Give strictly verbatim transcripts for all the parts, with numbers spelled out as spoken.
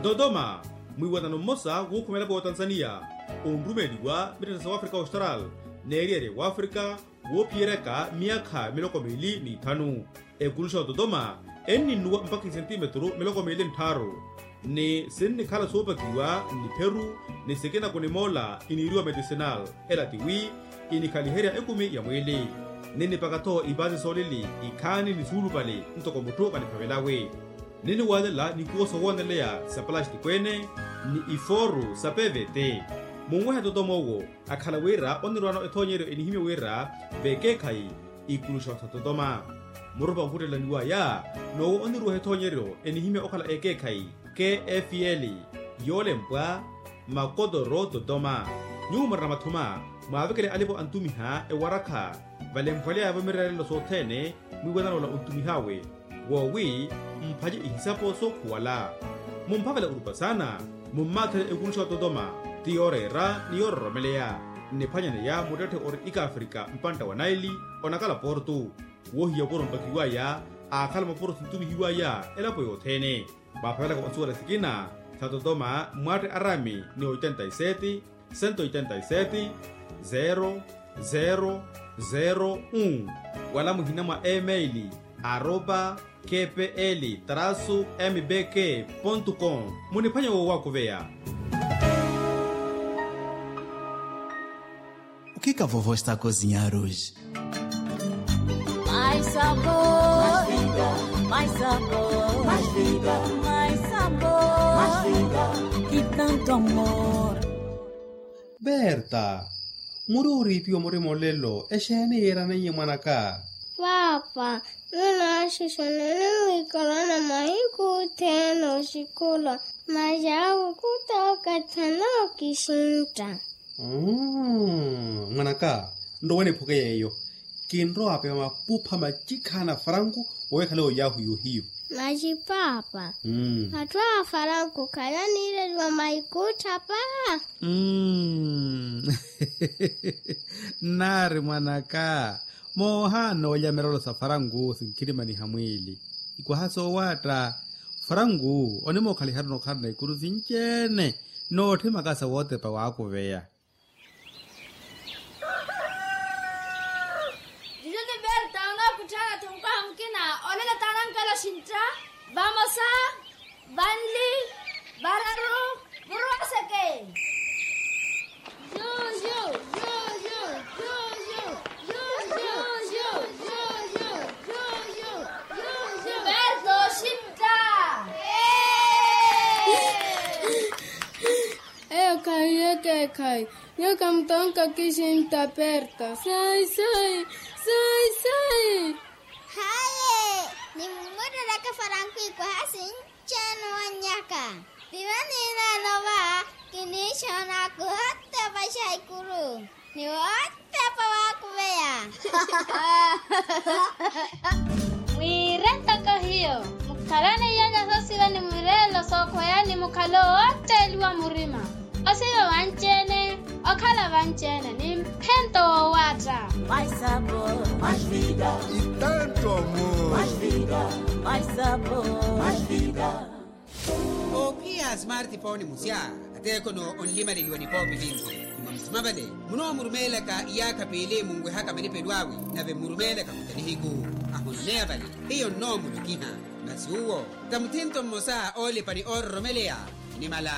Totoma, mwiiwanano mmosa wuukhuma elapo ya otanzaniya onrumeeliwa mittetta sa wafrika austral n'eriyari ya wafrika woophiyeryaka myaakha miloko miili n'ithanu. Ekuluxa ototoma enninnuwa mpakha isentimetru miloko miili nttharu, ni sinnikhala soopakiwa n'ipheru ni sikina kunimoola iniiriwa medicinal. Ela tiwi inikhaliherya ekumi ya mwiili. Ninnipaka-tho ipaasi soolili ikhaani ni suulupale ntoko mutthu vaniphavelawe. Ninniwaalela nikuwo soowooneleya sa palastiko ene ni ifooru sa pvt. Munwehe totoma owo akhala wira onirwaano ethoonyeryo enihimya wira vekeekhayi ikuluxa sa totoma. Murupa onkhuttelaniwaya n'owo onirweha ethoonyeryo enihimya okhala ekeekhayi kfl, yoolempwa makotoro totoma. Nyuwo murina mathuma mwaavekele alipo antumiha ewarakha valemphwaleya-vo mireerelo sothene. Mwiiwanano ola ontumih'awe woowi mphace ihisapo sookhuwala. Mumphavela orupa saana, mummaatherye ekuluxa ototoma ti yooreera ni yoororomeleya. Nniphwanyaneya muttetthe ori ikafrika mpantta wa naili onakala portu. Woohiya opuro mpakiwaya aakhala mopuro sintumihiwaya elapo yothene. Mwaaphavelaka onsuwela sikina sa totoma mwatte arami ni oitenta y sete, sento oitenta y sete, zero zero zero un, wala muhina mwa email aropa kpl trasu mbk pontu com. Muniphwanya woowakuveya. O que que a vovó está a cozinhar hoje? Mais sabor, mais vida, mais sabor, mais vida, mais sabor, mais vida, mais vida, e tanto amor. Berta, muri oriipiwa murima olelo exeeni yiiraneiye mwanaka? Paapa, nunaaxixana ninwiikalana mahiku othene oxikulwa. Masi awo khutookatha nookixintta. Mwanaka, nrowe niphuke yeeyo. Kinrowa apewa mapupha macikhaana a faranku owekhale oyahu yohiyo. Masi paapa, atthu a faranku khale aniireliwa maikuuttha paa. Nnaari mwanaka, moohaana olya mirelo sa faranku sinkhirimaniha mwiili. Ikwaha soowaatta faranku onimookhala iharuna okhalana ikuru sinci-ene. Nootthimakasa wootepa waakuveya. Juju ni berta onookutthaana-tho mukwaha mukina. Olelo taanankela oxintta. Vamosa, vanli, vararu, muruwaseke. Juju, juju, juju, juju, juju, juju, juju, juju. Berta oxintta. Eyo khahiye ekeekhayi. Nyuwo khamutonka okisintta perta. Sai sai, sai sai. Haye, nimmutteleke faranku ikwaha sinci-ene owannyaka. Viva niineene ova, kiniixoona kuhotta opaxa ikuru. Ni wootepa waakuveya. Mwiire ntoko hiyo, mukhalane iyanya soosiva ni mireelo sookhweya ni mukhalo wootteeliwa murima. Osiva vanci-ene, okhala vanci-ene ni mphento woowaatta. Mais sabor, mais vida. E tanto amor. Mais vida, mais sabor, mais vida. Oophiya a smartphone musya, ateekhono onlimaleliwa nipoopi vinci. Mwa musima vale, munoomurumeelaka iyaakha piili munwehaka malipelo awe, nave mmurumeelaka muta nihiku. Ahononeya vale, hiyo nnoomulokiha. Masi uwo ta muthinto mmosa oolipa ni oororomeleya. Nimala,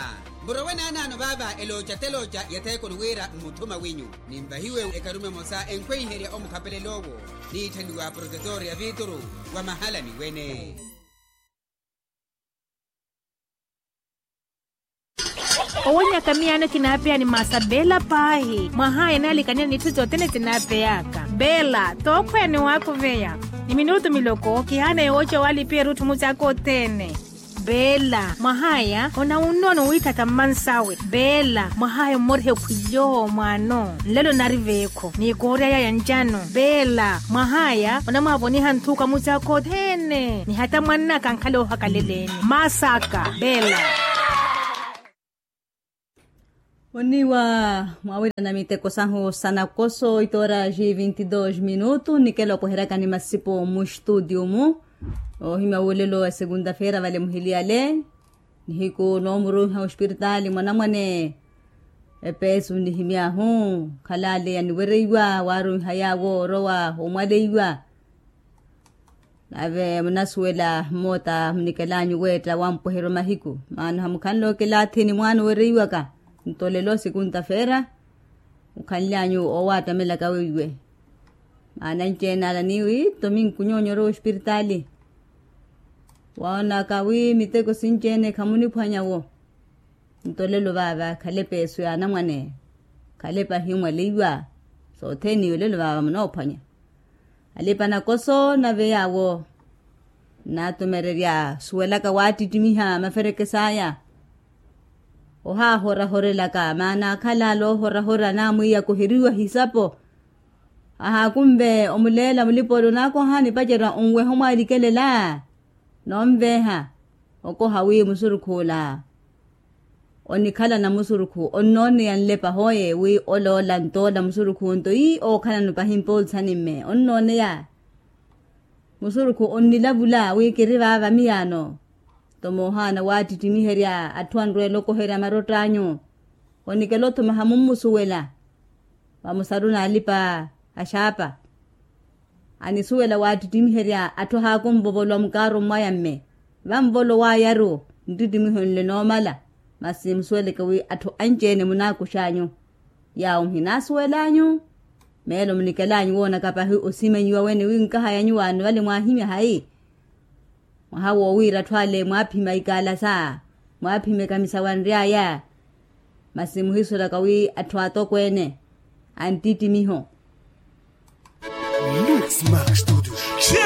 murowe naanaano vaava elooca telooca ya theekoni wira mmuthuma wenyu, ninvahiwe ekarume emosa enkhweiherya omukhapelel'owo, niitthaniwa protetor ya viituru wa mahalani wene. Owenyaka miyaano kinaapeya ni maasa beela paahi mwahaya enaalikanela n'itthu sothene sinaapeyaka. Beela tookhweya ni waakuveya ni minutu miloko kihaana yooca walipiya erutthu mucaaka othene. Beela mwahaya onawunnono wiithatha mmansawe. Beela mwahaya ommoriha ekhwilyo mwaano nlelo nari veekho ni koorya yaya ncano. Beela mwahaya onamwaavoniha nthuka mucaaka othene ni hata mwannaka ankhale oohakaleleni. Maasaka beela. Oniwa mwawirana miteko sahu sa nakoso itoora ji vinti dos minutu nikela opweheryaka ni masipo mu studio mu. Ohimya wolelo wa segunda feira vale muhiliyale. Nihiku noomuruiha ospiritaali mwanamwane. Epeesu nihimy'ahu, khalaleya niwereiwa waaruiha yaawo orowa omwaleiwa. Nave munasuwela mmoota munikelanyu weetta wampweheryo mahiku maana hamukhanle okela athini mwaana owereiwaka. Nto lelo sikunta feera mukhanlyanyu owaattamelaka weiwe. Maana anci-ene ala niiwi nto minkunyonyoro ospiritaali. Woonaka wi miteko sinci-ene khamuniphwanya wo. Nto lelo vaava khalepa esu ya anamwane. Khalepa himwaleiwa. Sothene iwe lelo vaava munoophwanya. Alipa nakoso nave yaawo nnatumererya suwelaka waattittimiha maferekes'aya. Ohaahorahorelaka maana akhala ala ohorahora anamwiiya koheriwa hisapo. Ahaakunve omuleela mulipa ole onaakoha nipacerya onweha omwaalikelela. Noonveha okoha wi musurukhu ola onikhala namusurukhu onnooneya nlepa hooye wi oloola ntoola musurukhu nto ii ookhalano pahi mpoolsani mme onnooneya. Musurukhu onnilavula wi kiri vaava miyaano. Nto moohaana waattittimiherya atthu anrweela okoherya marott'anyu. Onikela othuma hamummusuwela vamusaruni alipa axaapa. Anisuwela waattittimiherya atthu ahaakunvovolwa mukaaro mmwaya mme vanvolo waayaru nttittimiho nle noomala. Masi musuweleke wi atthu anci-ene munaakux'anyu yaawo muhinaasuwel'anyu. Meelo munikelanyu woonaka pahi osimanyiwa wene wi nkahayanyu waani vale mwaahimya hayi. Mwaha woowiira atthu ale mwaaphima ikaalasa mwaaphima ekamisawa nry'aya. Masi muhisulaka wi atthu atokweene anttittimiho. Mix Max Studios.